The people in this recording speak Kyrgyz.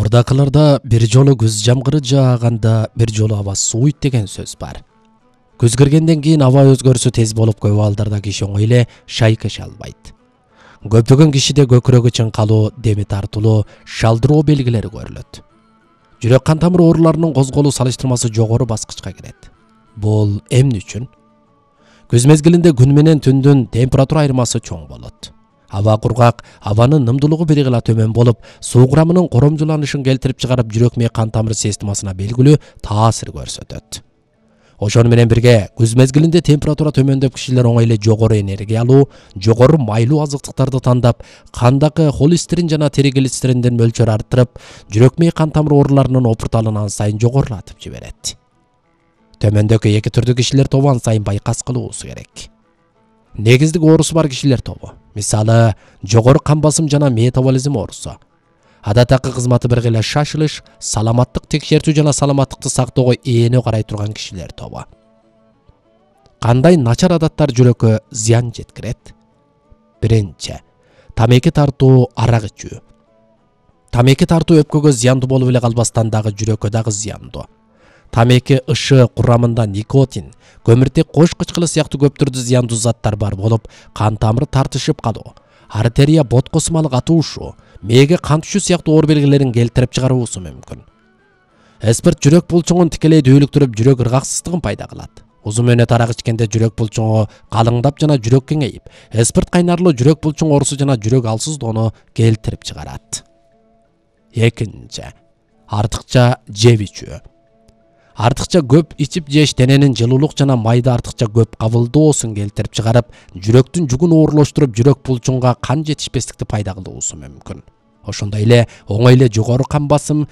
Мурдакыларда бир жолу күз жамгыры жааганда бир жолу аба сууйт деген сөз бар. Күз киргенден кийин аба өзгөрүшү тез болуп көп абалдарда киши оңой эле шайкеше албайт. Көптөгөн кишиде көкүрөгү чыңкалуу, деми тартылуу, шалдыроо белгилери көрүлөт. Жүрөк кан тамыр ооруларынын козголуу салыштырмасы жогору баскычка кирет. Бул эмне үчүн? Күз мезгилинде күн менен түндүн температура айырмасы чоң болот. Аба кургак, абанын нымдуулугу биргила төмөн болуп, суу курамынын коромжуланышын келтирип чыгарып, жүрөк мээ кан тамыр системасына белгилүү таасир көрсөтөт. Ошону менен бирге күз мезгилинде температура төмөндөп, кишилер оңой эле жогору энергиялуу, жогору майлуу азыктыктарды тандап, кандагы холестерин жана триглицериндин мөлчөрүн арттырып, жүрөк мээ кан тамыр ооруларынын опурталын ан сайын жогорулатып жиберет. Төмөндөгү эки түрдүү кишилер тобу ан сайын байкас кылуусу керек. Негиздик оорусу бар кишилер тобу, мисалы жогору кан басым жана метаболизм оорусу. Адаттагы кызматы биргеле шашылыш, саламаттык текшертүү жана саламаттыкты сактоого эне карай турган кишилер тобу. Кандай начар адаттар жүрөккө зыян жеткирет? Биринчи, тамеки тартуу, арак ичүү. Тамеки тартуу өпкөгө зыяндуу болуп эле калбастан дагы жүрөккө дагы зыяндуу. Тамеки ышы курамында никотин, көмүртек кош кычкылы сыяктуу көп түрдүү зыяндуу заттар бар болуп, кан тамыр тартышып калуу, артерия боткосумалы катуушуу, мээге кан түшүү сыяктуу оор белгилерин келтирип чыгаруусу мүмкүн. Спирт жүрөк булчуңун тикелей дүүлүктүрүп, жүрөк ыргаксыздыгын пайда кылат. Узун мөөнөт арак ичкенде жүрөк булчуңу калыңдап жана жүрөк кеңейип, спирт кайнарлуу жүрөк булчуң оорусу жана жүрөк алсыздоону келтирип чыгарат. Экинчи, артыкча жеп ичүү. Артыкча көп ичип жеш дененин жылуулук жана майды артыкча көп кабылдоосун келтирип чыгарып, жүрөктүн жүгүн оорлоштуруп, жүрөк булчуңга кан жетишпестикти пайда кылуусу мүмкүн. Ошондой эле оңой эле жогору кан басым,